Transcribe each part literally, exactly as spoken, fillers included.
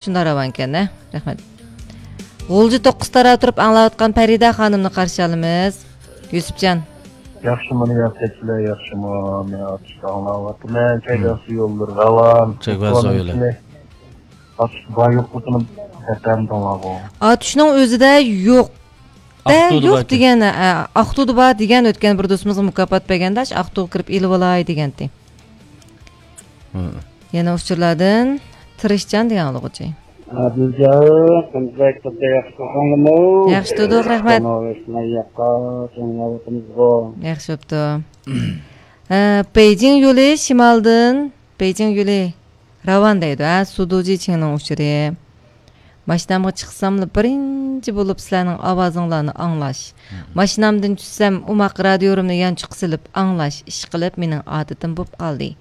شۇنداق راۋانكەن ھە. رەھمەت. غۇلجا توققۇز تارا تۇرۇپ ئاڭلاۋاتقان پەرىدە خانىمنى قارشى ئالىمىز. يۈسۈپجان. ياخشىمۇ رىياسەتچىلەر، ياخشىمۇ؟ مەن ئاتۇشتا ئاڭلاۋاتىمەن. چەگۋەسۇ يوللىرى راۋان. چەگۋەسۇ يولى. ئاتۇشتا بار يوقلۇقىنى دەپەمدىڭلارغۇ. ئاتۇشنىڭ ئۆزىدە يوق. دە، ئاقتۇدا يوق باركەن. دېگەن، ئە، ئاقتۇدا بار دېگەن، ئۆتكەن بىر دوستىمىزغا مۇكاپات بەرگەندە، ئاشۇ ئاقتۇغا كىرىپ ئېلىۋالاي دېگەنتى. ھە. يەنە ئۇچۇرلاردىن تىرىشچان دېگەن ئاڭلىغۇچى. ئادىلجان، قانداق، ياخشى تۇردۇڭلارمۇ؟ ياخشى تۇردۇق، رەھمەت. ياخشى بوپتۇ. ھە، بېيجىڭ يولى شىمالدىن، بېيجىڭ يولى راۋان دەيدۇ، ھە، سۇدۇجى چىڭنىڭ ئۇچۇرى. ماشىنامغا چىقساملا بىرىنچى بولۇپ سىلەرنىڭ ئاۋازىڭلارنى ئاڭلاش. ماشىنامدىن چۈشسەم ئوماق رادىيورۇمنى يانچۇققا سېلىپ ئاڭلاش، ئىشقىلىپ مېنىڭ ئادىتىم بوپ قالدى.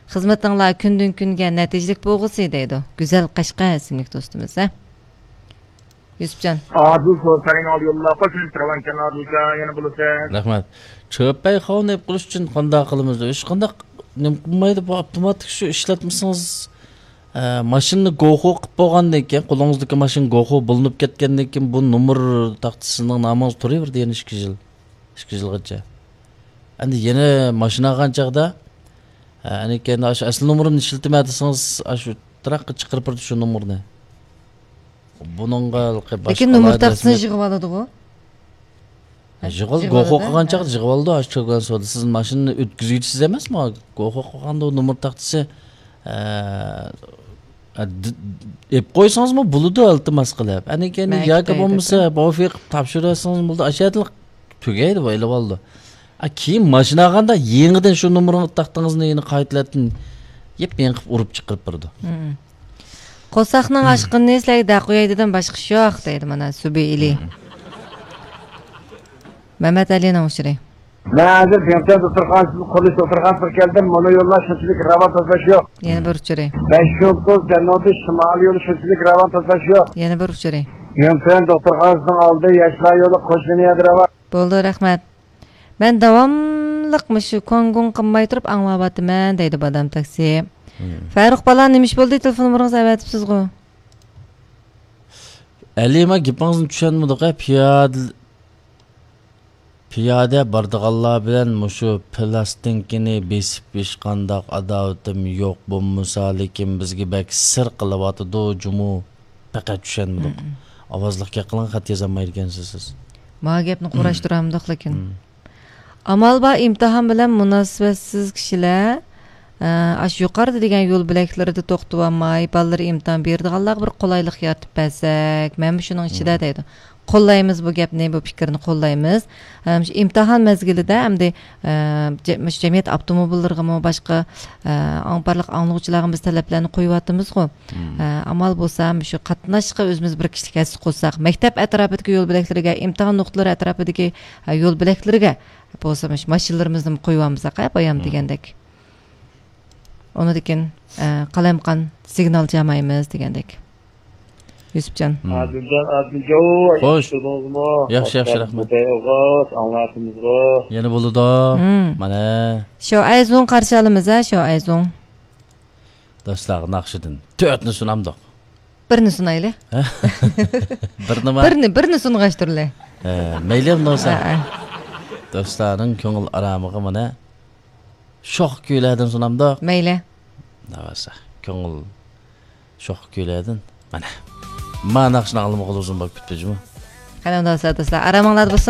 خىزمىتىڭلار كۈندىن كۈنگە نەتىجىلىك بولغۇسى دەيدۇ. گۈزەل قەشقەر ئىسىملىك دوستىمىز، ھە. يۈسۈپجان. ئادىل سوسارىڭ ئالدى يوللاپ قوي، سېنى تىرىۋەنكەن ئادىلجان، يەنە بولىسەن. رەھمەت. چۆپەي خاۋنى ئېلىپ قېلىش ئۈچۈن قانداق قىلىمىز؟ ھېچقانداق نېمە قىلمايدۇ، بۇ ئاپتوماتىك شۇ ئىشلەتمىسىڭىز، ئە، ماشىنىنى گوخۇ قىلىپ بولغاندىن كېيىن، قولىڭىزدىكى ماشىنا گوخۇ بولۇنۇپ كەتكەندىن كېيىن، بۇ نومۇر تاختىسى سىزنىڭ نامىڭىزدا تۇرۇۋېرىدۇ يەنە ئىككى يىل. ئىككى يىلغىچە. ئەمدى يەنە ماشىنا ئالغان چاغدا، ئە، ئەنە كەينىدە ئاشۇ ئەسلى نومۇرۇمنى ئىشلىتىمەن دېسىڭىز، ئاشۇ تىراققا چىقىرىپ بېرىدۇ شۇ نومۇرنى. بۇنىڭغا ھېلىقى باشقىلار لېكىن نومۇر تاختىسىنى يىغىۋالىدىغۇ. يىغىۋال-، يىغىۋالىدۇ، گوخۇ قىلغان ھە. چاغدا يىغىۋالىدۇ، ئاشۇ چۆگەن سودا. سىز ماشىنىنى ئۆتكۈزگۈچىسىز ئەمەسمۇ؟ گوخۇ قىلغاندا ئۇ نومۇر تاختىسى، ئە، ئە، د-، ئېلىپ قويسىڭىزمۇ بولىدۇ، ئىلتىماس قىلىپ. ئەنە كەينى مەن ياكى كۈتەي بولمىسا دەپ. بوفىق تاپشۇرۇۋەتسىڭىزمۇ بولىدۇ. ئاشۇ يەردىلا تۈگەيدۇ، بۇ ئېلىۋالىدۇ. ئا، كېيىن ماشىنا ئالغاندا يېڭىدىن شۇ نومۇرنىڭ تاختىڭىزنى يەنە قايتىلەتتىن يېپيېڭى قىلىپ ئۇرۇپ چىقىرىپ بېرىدۇ. مم. قورساقنىڭ ئاشقىنىنى سىلەرگە دەپ قوياي دېدىم، باشقا ئىش يوق دەيدۇ مانا سۈبى ئىلى. مم. مەمەت ئەلىنىڭ ئۇچۇرى. مەن ھازىر بىڭتۈەن دوختۇرخانىسىدىن قۇرۇلۇش دوختۇرخانىسىغا كەلدىم، مانا يوللار شۇنچىلىك راۋان تازىلاش يوق. يەنە بىر ئۇچۇرى. بەش يۇلتۇز جەنۇبىي شىمالىي يولى شۇنچىلىك راۋان تازىلاش يوق. يەنە بىر ئۇچۇرى. بىڭتۈەن دوختۇرخانىسىنىڭ ئالدى ياشلار يولى قوشنا يەردە راۋان. بولدى، رەھمەت. مەن داۋاملىق مۇشۇ كوڭگۇڭ قىلماي تۇرۇپ ئاڭلاۋاتىمەن، دەيدۇ بادام تاكسى. مم. فەرۇق بالا، نېمە ئىش بولدى؟ تېلېفون نومۇرىڭىزنى ئەۋەتىپسىزغۇ؟ ئەلى، ما گېپىڭىزنى چۈشەنمىدۇق، ھە، پىيادە، پىيادە بارىدىغانلار بىلەن مۇشۇ پىلاستىنكىنى بېسىپ ھېچقانداق ئاداۋىتىم يوق، بولمىسا، لېكىن بىزگە بەك سىر قىلىۋاتىدۇ جۇمۇ. پەقەت چۈشەنمىدۇق. مم. ئاۋازلىق گەپ قىلىڭ، خەت يازالمايدىكەنسىز سىز. ماۋۇ گەپنى قۇراشتۇرالمىدۇق لېكىن. مم. ئامال بار ئىمتىھان بىلەن مۇناسىۋەتسىز كىشىلەر، ئە، ئاشۇ يۇقىرىدا دېگەن يول بۆلەكلىرىدە توختىۋالماي، بالىلىرى ئىمتىھان بېرىدىغانلارغا بىر قولايلىق يارىتىپ بەرسەك، مەنمۇ شۇنىڭ ئىچىدە مم. دەيدۇ. قوللايمىز بۇ گەپنى، بۇ پىكىرنى قوللايمىز. ئەم، شۇ ئىمتىھان مەزگىلىدە ئەمدى، ئە، جە-، مۇشۇ جەمئىيەت ئاپتوموبىللىرىغىمۇ، باشقا، ئە، ئاڭ-، بارلىق ئاڭلىغۇچىلارغىمۇ بىز تەلەپلەرنى قويۇۋاتىمىزغۇ. مم. ئە، ئامال بولسا مۇشۇ قاتناشقا ئۆزىمىز بىر كىشىلىك ھەسسە قوشساق، مەكتەپ ئەتراپىدىكى يول بۆلەكلىرىگە، ئىمتىھان نۇقتىلىرى ئەتراپىدىكى، ئە، يول بۆلەكلىرىگە بولسا مۇشۇ ماشىنىلىرىمىزنى قويۇۋالمىساق، ھە، بايام مم. دېگەندەك. ئۇنىڭدىن كېيىن، ئە، قالايمىقان سىگنال چالمايمىز دېگەندەك. يۈسۈپجان. مم. ئادىلجان، ئادىلجان، خوش. ياخشى تۇردىڭىزمۇ؟ ياخشى، ياخشى، رەھمەت. ئاڭلاتىمىزغۇ. يەنە بولىدۇ. مم. مانا. شوئەيزۇڭ قارشى ئالىمىز، ھە، شوئەيزۇڭ. دوستلارغا ناخشىدىن تۆتنى سۇنامدۇق. بىرنى سۇنايلى. بىرنىما؟ بىرنى، بىرنى سۇنغاچ تۇرلى. ھە، مەيلى ئەمدى بولسا. ھە، ھە. دوستلارنىڭ كۆڭۈل ئارامىغا مانا شوخ كۈيلەردىن سۇنامدۇق. مەيلى. دەۋەرسە، كۆڭۈل شوخ كۈيلەردىن. مانا. ما ناخشىنى ئاڭلىمىغىلى ئۇزۇن بولۇپ كېتىپتۇ جۇمۇ. قېنى ئۇنداق بولسا دوستلار، ئارامىڭلاردا بولسۇن.